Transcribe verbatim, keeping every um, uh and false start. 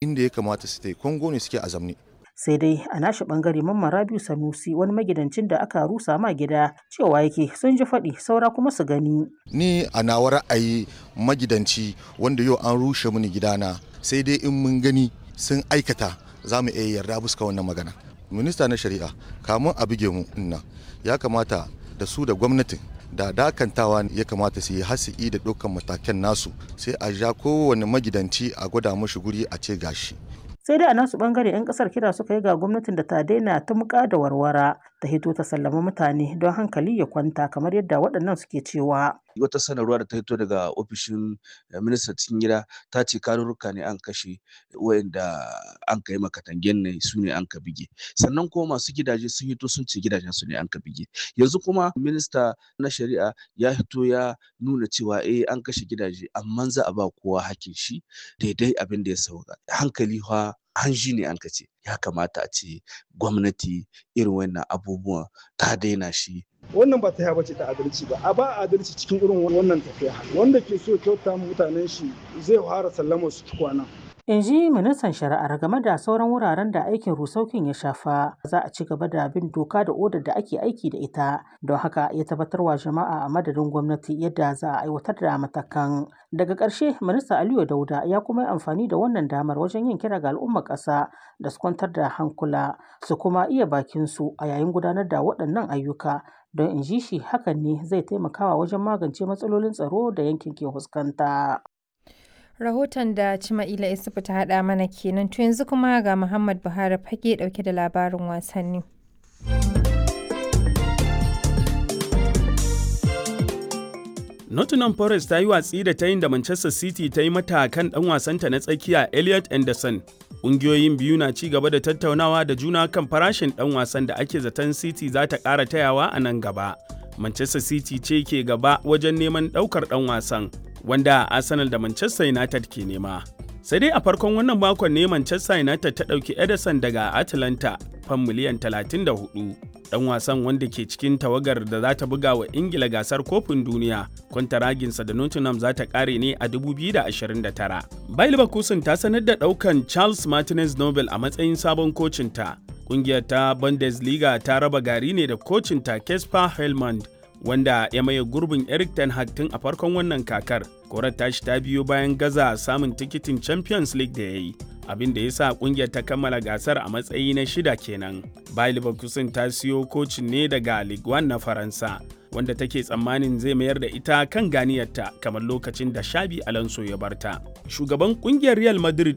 Inda ya kamata su tai Kongo ne suke a zamne. Sai dai a nashi bangare Mamman Rabiu Sanusi wani magidancin da aka rusa ma gida cewa yake sun ji faɗi saura kuma su gani. Ni a nawa ra'ayi magidanci wanda yau an rushe mini gidana sai dai in mun gani sun aikata za mu iya yarda buska wannan magana. Minista na shari'a kamun a buge mu inna ya kamata da su da gwamnatin da dakantawa ya kamata su yi hasi'i da dukkan matakan nasu sai a ja kowane magidanci a gwada mashi guri a ce gashi. Sai dai a nasu bangare 'yan kasar kira suka yi ga gwamnatin da ta daina ta muka da warwara ta hito ta sallama mutane don hankali ya kwanta kamar yadda waɗannan suke cewa. Wata sanarwa da ta hito daga ofishin ministan cikin gida ta ce karurruka ne an kashe wayanda an kai makatangen ne su ne an ka bige, sannan kuma masu gidaje sun hito sun ce gidajen su ne an ka bige. Yanzu kuma minista na shari'a ya hito ya nuna cewa eh an kashe gidaje amma za a ba kowa hakkin shi daidai abin da ya sauka. Hankali fa hanji ne an ka ce ya kamata a ce gwamnati irin wannan abubuwan ta daina shi. Wannan ba ta bace ta adalci ba, a ba adalci cikin irin wannan tafiya. Wanda ke so kyauta mutanen shi zai fara sallama su tukwana. In ji ministan shari'ar game da sauran wuraren da aikin rusaukin ya shafa, za a ci gaba da bin doka da odar da ake aiki da ita. Don haka ya tabbatar wa jama'a a madadin gwamnati yadda za a aiwatar da matakan. Daga ƙarshe minista Aliyu Dauda ya kuma yi amfani da wannan damar wajen yin kira ga al'ummar ƙasa da su kwantar da hankula su kuma iya bakin su a yayin gudanar da waɗannan ayyuka, don in ji shi hakan ne zai taimakawa wajen magance matsalolin tsaro da yankin ke fuskanta. Rahoton da Cima'ila Isufu ta haɗa mana kenan. To yanzu kuma ga Muhammad Buhari fage ɗauke da labarin wasanni. Nottingham Forest ta yi watsi da tayin da Manchester City ta yi mata kan ɗan wasanta na tsakiya Elliot Anderson. Ƙungiyoyin biyu na ci gaba da tattaunawa da juna kan farashin ɗan wasan da ake zaton City za ta ƙara tayawa a nan gaba. Manchester City ce ke gaba wajen neman ɗaukar ɗan wasan, wanda Arsenal da Manchester United ke nema. Sai dai a farkon wannan makon ne Manchester United ta ɗauki Ederson daga Atlanta fan miliyan talatin da huɗu. Ɗan wasan wanda ke cikin tawagar da za ta buga wa Ingila gasar kofin duniya, kwantaraginsa da Nottingham za ta ƙare ne a dubu biyu da ashirin da tara. Bayer Leverkusen ta sanar da ɗaukan Charles Martinez Nobel a matsayin sabon kocinta. Ƙungiyar ta Bundesliga ta raba gari ne da kocinta Kasper Helmand, wanda ya maye gurbin Eric Ten Hag tun a farkon wannan kakar. Korar tashi ta biyo bayan gaza samun tikitin Champions League da ya yi, abin da ya sa kungiyar ta kammala gasar a matsayi na shida kenan. Bayer Leverkusen ta siyo kocin ne daga Ligue one na Faransa, wanda take tsammanin zai mayar da ita kan ganiyarta kamar lokacin da Xabi Alonso ya barta. Shugaban kungiyar Real Madrid